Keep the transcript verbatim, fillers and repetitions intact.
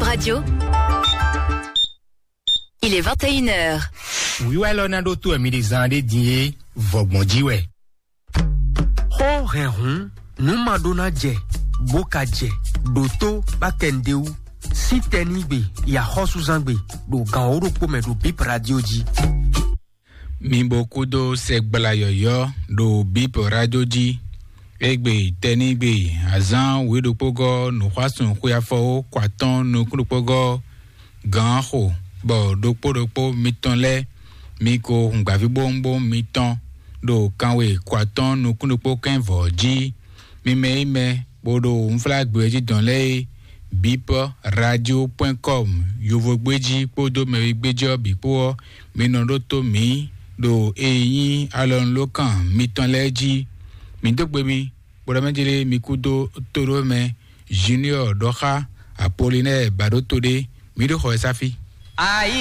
Radio. Il est vingt et une heures. Wíwá élɔ́ ná ɖó tó wɛ mi ɖe zán ɖé din é, vɔgbɔn jí wɛ. Xó hɛn hǔn, nǔ ma ɖó ná jɛ, bó ka jɛ, ɖo tó bá kɛ nǔɖé wú. Sín tɛnígbe, yi axɔ́súzángbe, ɖo gan wǒ ɖokpó mɛ ɖo Bip Radio jí. Mi bo kúdó sɛgbla yɔ̌yɔ́ ɖo Bip Radio jí. Égbé tɛnígbe, azán wěɖokpógɔ́ nǔxwásún xwé afɔwó kɔ atɔ́ɔ́n nukún ɖokpógɔ́ gǎn xo, bɔ ɖokpó ɖokpó mitɔn lɛ́ɛ mi ko hǔngbǎvíbówúnbówún mitɔn ɖo kanwe kɔ atɔ́ɔ́n nukún ɖokpó kɛ́n vɔ̌ jí. Mi mɛ e mɛ bo ɖo unflágbé jí dɔn lɛ́ɛ é, bip radio point com, yovogbéjí kpódó mɛwigbéjí ɔ́ bǐ kpó ɔ́, mi nɔ ɖótó mǐ ɖo e nyí alɔnulókan mitɔn lɛ́ɛ jí. Mǐ dó gbe mi, bó ɖɔ mɛ jlé mi kúdó tóɖó mɛ, Junior ɖɔxá, Apolinɛ́ɛ bǎɖótó ɖé, mǐ ɖo xɔ ɛ sáfí. Ayi